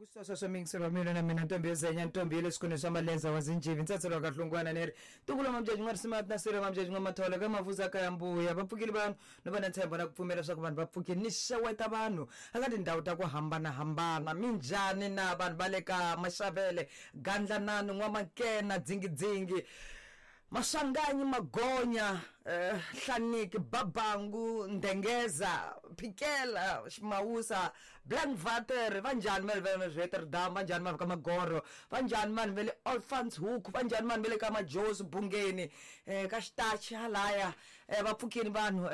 Loko swi sweswo miyingiselo wa mina na mina ntombi yo zenya ntombi ya le swikhundleni swa malenza wa zinjivi ntsatshelo wa kahlungwana ni ri ntukulu wa mamjaji n'wa risimati na sirha mamjaji n'wa matholo ka mavuza ka ya mbuya va pfukile vanhu no va na ntshembo na ku pfumela leswaku vanhu va pfukile ni xeweta vanhu eka tindhawu ta ku hambanahambana minjhani na vanhu va le ka maxavele gandlanani n'wamakena dzingidzingi Maswanganyi, Magonya, Hlaniki, Babangu, Ndengeza, Phikela, Ximawusa, Blankwater, va njhani vanhu va le Rotterdam, va njhani vanhu ka Magoro, va njhani vanhu va le Olifantshoek, va njhani vanhu va le ka Majozi, Bungeni, ka Xitachi halaya, va pfukini vanhu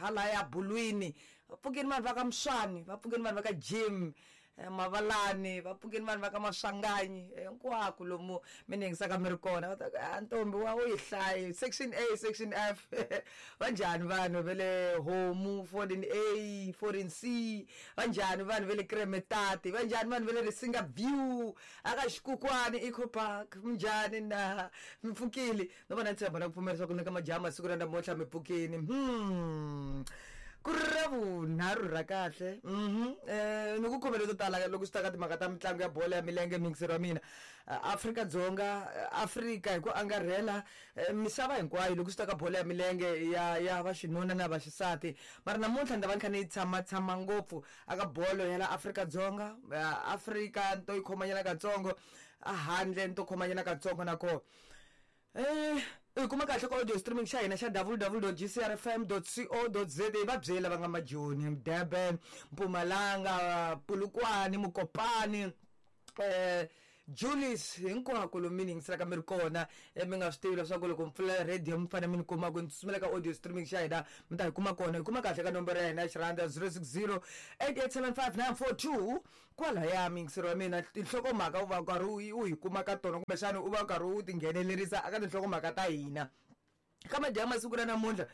halaya Bulwini, va pfukini vanhu va ka Mswani, va pfukini vanhu va ka Jim, Mavalani, va pfukeni vanhu va ka Maswanganyi, hinkwako lomu mi ni yingisaka mi ri kona, va ta ku a ntombi wa u yi hlayi section A, section F. Va njhani vanhu va le Homu 14 A, 14 C, va njhani vanhu va le Kremetati, va njhani vanhu va le Risinga View, a ka Xikukwani Eco Park, minjhani na? Mi pfukile? No va na ntshembo na ku pfumela leswaku ni ka majaha masiku ra namuntlha mi pfukini. Ku ri ra vunharhu ra kahle. Ni ku khomele to tala loko swi ta ka timhaka ta mitlangu ya bolo ya milenge muyingiseri wa mina. Afrika-Dzonga, Afrika hi ku angarhela, misava hinkwayo loko swi ta ka bolo ya milenge ya ya vaxinuna na vaxisati. Mara namuntlha ni ta va ni kha ni tshamatshama ngopfu aka bolo ya la Afrika-Dzonga, Afrika ni to yi khomanyana katsongo, a handle ni to khomanyana katsongo na koho. U yi kuma kahle ka audio streaming xa hina xa www.gcrfm.co.za va byeli lava nga majoni Durban Mpumalanga Polokwane Mokopane Julius hinkwako lomu mi ni yingiselaka mi ri kona mi nga swi tivi leswaku loko mi pfula radio mi fanele mi ni kuma ku ni tsutsumela ka audio streaming xa hina mi ta yi kuma kona yi kuma kahle ka nomboro ya hina ya xirhandza 060 8875 942 Kwalaya muyingiseri wa mina tinhlokomhaka u va u karhi u u hi kuma ka tona kumbexana u va u karhi u tinghenelerisa eka tinhlokomhaka ta hina. Ka madyambu masiku ra namuntlha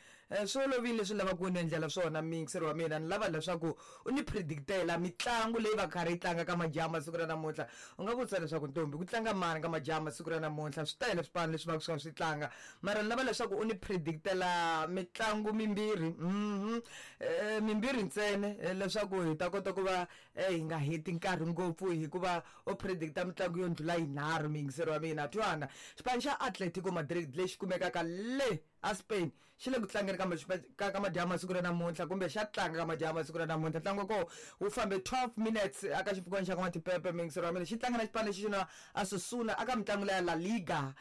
swi olovile leswi ni lavaka ku ni endlela swona muyingiseri wa mina ni lava leswaku u ni predict-ela mitlangu leyi va karhi yi tlanga ka madyambu masiku ra namuntlha. U nga vutisa leswaku ntombi ku tlanga mani ka madyambu masiku ra namuntlha swi tele swipano leswi va ka swi kha swi tlanga mara ni lava leswaku u ni predict-ela mitlangu mimbirhi mimbirhi ntsena leswaku hi ta kota ku va Hi nga heti nkarhi ngopfu hikuva u predicta mitlangu yo ndlula yinharhu muyingiseri wa mina. Twana, xipano xa Atletico Madrid lexi kumekaka le a Spain xi le ku tlangeni ka ka madyambu masiku ra namuntlha kumbe xa tlanga ka madyambu masiku ra namuntlha. Ntlangu wa kona wu fambe 12 minutes aka xipfukwana xa ka N'watipepe muyingiseri wa mina. Xi tlanga na xipano lexi xi na Osasuna aka mitlangu leya La Liga.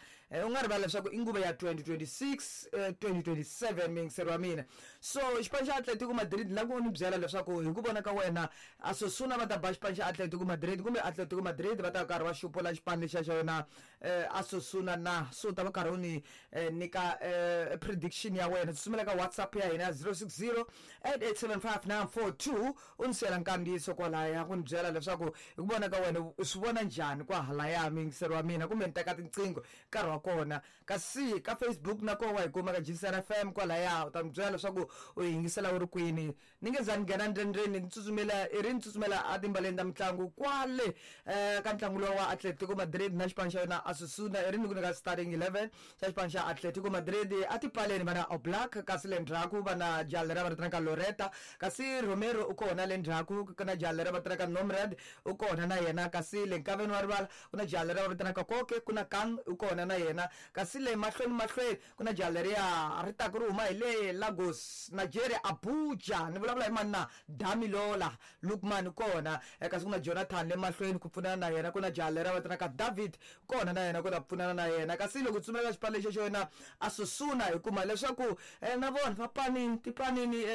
U nga rivali leswaku i nguva ya 2026 2027 muyingiseri wa mina. So xipano xa Atletico Madrid ni lava ku ni byela leswaku hi ku vona ka wena Osasuna va ta ba xipano xa Atletico Madrid kumbe Atletico Madrid va ta karhi va xupula xipano lexiya xa yona Osasuna na? So u ta va karhi u ni nyika prediction ya wena. Tsutsumela ka WhatsApp ya hina ya 060 8875 942 u ni siyela nkandziyiso kwalaya ku ni byela leswaku hi ku vona ka wena u swi vona njhani kwahalaya muyingiseri wa mina kumbe ni teka tinqingho nkarhi wa kona. Kasi ka Facebook na koho wa hi kuma ka GCR FM kwalaya u ta ni byela leswaku u yingisela u ri kwini. Ni nge za ni nghena ndzeni-ndzeni ni tsutsumela i ri ni tsutsumela etimbaleni ta mitlangu kwale ka ntlangu luwa wa Atletico Madrid na xipano xa yona Osasuna i ri ni ku nyika starting 11 xa xipano xa Atletico Madrid etipaleni va na Oblak kasi le ndzhaku va na jaha leriya va ri vitanaka Loreta kasi Romero u kona le ndzhaku ku na jaha leriya va vitanaka Nomrad u kona na yena kasi le nkaveni wa rivala ku na jaha leriya va vitanaka Koke ku na Kang u kona na yena kasi le mahlweni mahlweni ku na jaha leriya ri taka ri huma hi le Lagos Nigeria Abuja ni vulavula hi mani na Damilola Lookman u kona kasi ku na Jonathan le mahlweni ku pfunana na yena ku na jaha leriya va vitanaka David kona na yena ku ta pfunana na yena kasi loko tsutsumela ka xipano lexi xo yena Osasuna hi kuma leswaku na vona va panini tipanini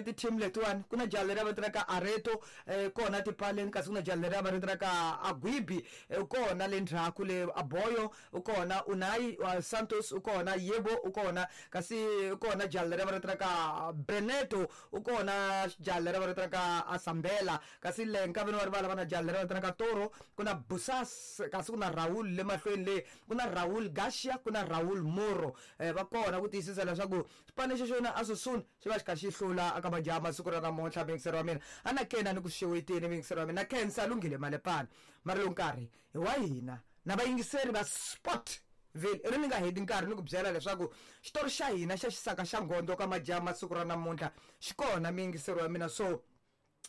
ti-team letiwani ku na jaha leriya va vitanaka Areto kona tipaleni kasi ku na jaha leriya va vitanaka Aguibi kona le ndzhaku le Aboyo u kona Unai Santos u kona Yebo u kona kasi u kona jaha leriya va vitanaka Beneto u kona jaha leriya va vitanaka Asambela Kasi le nkaveni wa rivala va na jaha leri va vitanaka Toro, ku na Busas, kasi ku na Raul le mahlweni le, ku na Raul Garcia, ku na Raul Moro. Va kona ku tiyisisa leswaku xipano lexi xo na Asusun xi va xi kha xi hlula aka majaha masiku ra namuntlha. Muyingiseri wa mina, a na kena ni ku xeweteni muyingiseri wa mina, na khensa Lunghile Malepana. Mara lowu nkarhi hi wa hina na vayingiseri va Sport Ville. I ri ni nga heti nkarhi ni ku byela leswaku xitori xa hina xa xisaka xa nghondo ka majaha masiku ra namuntlha xi kona muyingiseri wa mina, so.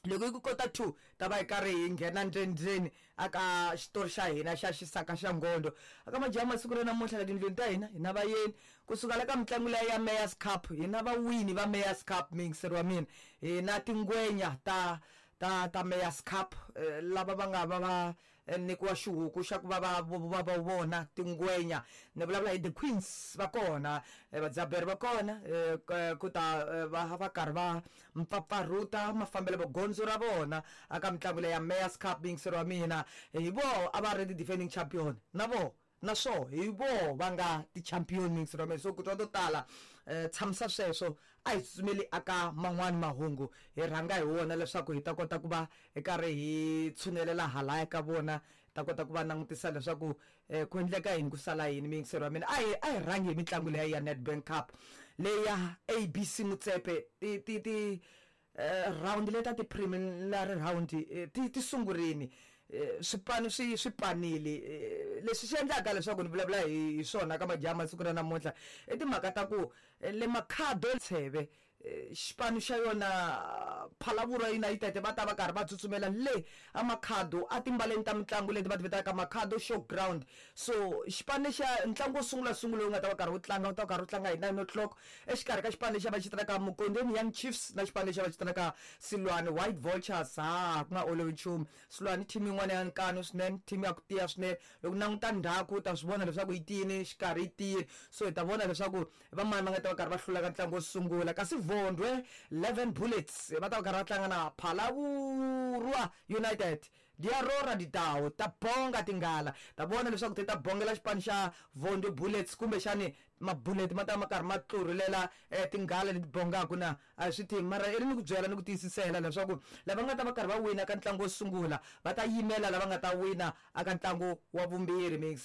Loko yi ku kota 2 ta va hi karhi hi nghena ndzeni aka xitori xa hina xa xisaka xa ngondo. Aka majaha masiku ra namuntlha la tindlwini ta hina, hina vayeni kusuka la ka mitlangu leya ya Mayors Cup, hina vawini va Mayors Cup, miyingiseri wa mina, hina tingwenya ta ta ta Mayors Cup, lava va nga va va nyikiwa xihuku xa ku va va va va vona tingwenya. Ni vulavula hi the Queens va kona, vadzaberi va kona, ku ta va va karhi va mpfapfarhuta mafambelo magondzo ra vona aka mitlangu leya Mayors Cup. Miyingiseri wa mina, hi vo a va ri ti-defending champion na vo na swo hi vo va nga ti-champion, miyingiseri wa mina. So ku twa to tala, tshamisa sweswo, a hi tsutsumeli aka man'wani mahungu, hi rhanga hi wona leswaku hi ta kota ku va hi karhi hi tshunelela halaya ka vona, ta kota ku va langutisa leswaku ku endleka yini, ku sala yini. Miyingiseri wa mina, a hi rhangi hi mitlangu leya ya Nedbank Cup leya ABC Motsepe. Ti ti ti round leta ti-preliminary round ti sungurini, swipano swi panile. Leswi swi endlaka leswaku ni vulavula hi swona ka majaha masiku ra namuntlha i timhaka ta ku le Makhado Tsheve, xipano xa yona Phalavurwa United, va ta va karhi va tsutsumela le a Makhado a timbaleni ta mitlangu leti va ti vitanaka Makhado Showground. So xipano lexiya, ntlangu wo sungula sungula lowu nga ta va karhi wu tlanga, wu ta va karhi wu tlanga hi 9 o'clock exikarhi ka xipano lexi va xi vitanaka Mukondeni Young Chiefs na xipano lexi va xi vitanaka Silwane White Vultures. Ha ku nga olovi nchumu. Silwane team yin'wana ya nkanu swinene, team ya ku tiya swinene. Loko languta ndzhaku u ta swi vona leswaku yi tiyini, xikarhi yi tiyini. So hi ta vona leswaku vamani va nga ta va karhi va hlula ka ntlangu wo sungula. Kasi Vondwe 11 Bullets va ta va karhi va tlanga na Phalavurwa United. Diarora ditawo ta bonga tinghala, ta vona leswaku ti ta bongela xipano xa Vondwe Bullets kumbexani mabullet ma ta ma karhi ma tlurhulela tinghala leti bongaka na a hi swi tivi. Mara i ri ni ku byela ni ku tiyisisela leswaku lava nga ta va karhi va wina ka ntlangu wo sungula va ta yimela lava nga ta wina aka ntlangu wa vumbirhi.